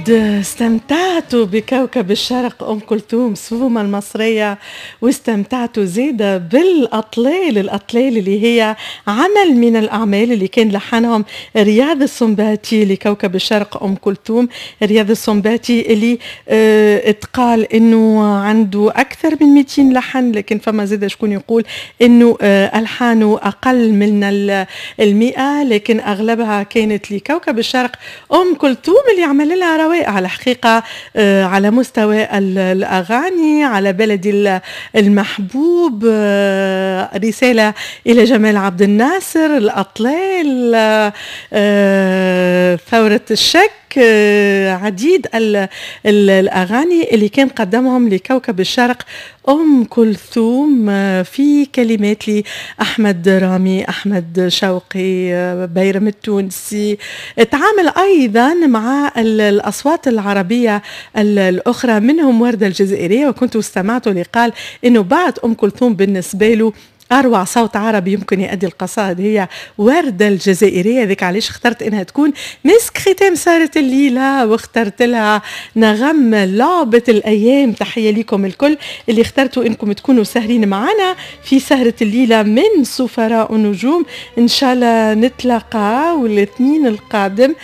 أكيد استمتعتوا بكوكب الشرق أم كلثوم سومة المصرية، واستمتعتوا زيادة بالأطلال، الأطلال اللي هي عمل من الأعمال اللي كان لحنهم رياض السنباطي لكوكب الشرق أم كلثوم. رياض السنباطي اللي اتقال إنه عنده أكثر من 200 لحن، لكن فما زاد شكون يقول إنه ألحانه أقل من 100، لكن أغلبها كانت لكوكب الشرق أم كلثوم اللي عمل لها روائع الحقيقة على مستوى الأغاني، على بلدي المحبوب، رسالة إلى جمال عبد الناصر، الأطلال، ثورة الشك، عديد الأغاني اللي كان قدمهم لكوكب الشرق أم كلثوم في كلمات لأحمد رامي، أحمد شوقي، بيرم التونسي. تعامل أيضا مع الأصوات العربية الأخرى، منهم وردة الجزائرية، وكنت استمعت لقال إنه بعد أم كلثوم بالنسبة له أروع صوت عربي يمكن يؤدي القصائد هي وردة الجزائرية. ذيك علاش اخترت إنها تكون مسك ختام سهرة الليلة، واخترت لها نغم لعبة الأيام. تحية لكم الكل اللي اخترتوا إنكم تكونوا سهرين معنا في سهرة الليلة من سفراء النجوم. إن شاء الله نتلاقى والاثنين القادم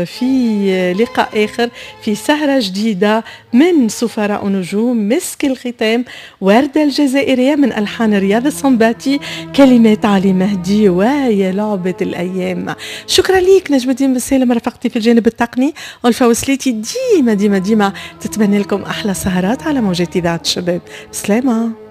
في لقاء آخر في سهرة جديدة من سفراء النجوم. مسك الختام وردة الجزائرية من ألحان رياض الصنباتي، كلمات علي مهدي، ويا لعبة الأيام. شكرا ليك نجم الدين بالسالم رفقتي في الجانب التقني، ألفا وسليتي ديما ديما ديما تتمنى لكم أحلى سهرات على موجات إذاعة الشباب. سلامة.